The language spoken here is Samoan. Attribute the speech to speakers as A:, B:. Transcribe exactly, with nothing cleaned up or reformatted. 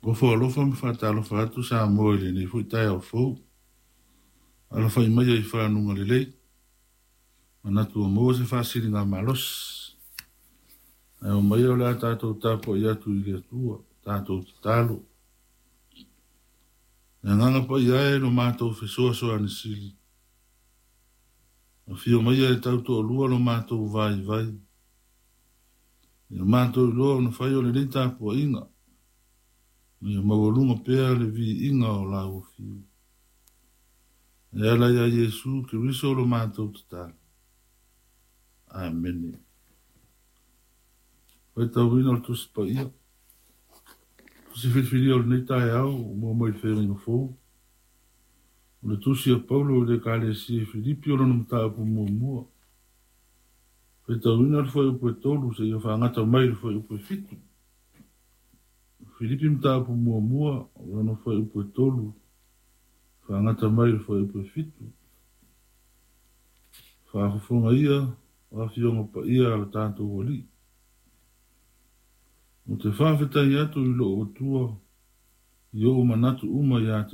A: Ofo alofa ma faatalofa atu Samoa i lenei foi taeao fou. Alafai mai i faguga lelei. Manatu ua maua se faasiligamalosi. Ae omaia o le a tatou tapuai atu i le Atua, tatou tatalo. Le agaga paia e lo matou fesoasoani sili. Afio maia e tautoalua lo matou vaivai. Ia matou iloa ona fai o lenei tapuaiga. Ia maualuga pea le viiga o lau afio. E ala ia Iesu Keriso lo matou tatalo. Amene. Faitauina o le Tusi Paia. Tusi filifilia o lenei taeao ua maua mai i le Feagaiga Fou. O le tusi a Paulo i le Ekalesia i Filipi o lona mataupu muamua. Faitauina le fuaiupu e tolu seia faagata mai le fuaiupu e fitu. Filipi mataupu muamua o lona fuaiupu e tolu faagata mai le fuaiupu e fitu. Faafofoga ia o afioga paia a lo tatou Alii. Ou te faafetai atu i lou Atua i ou manatu uma ia te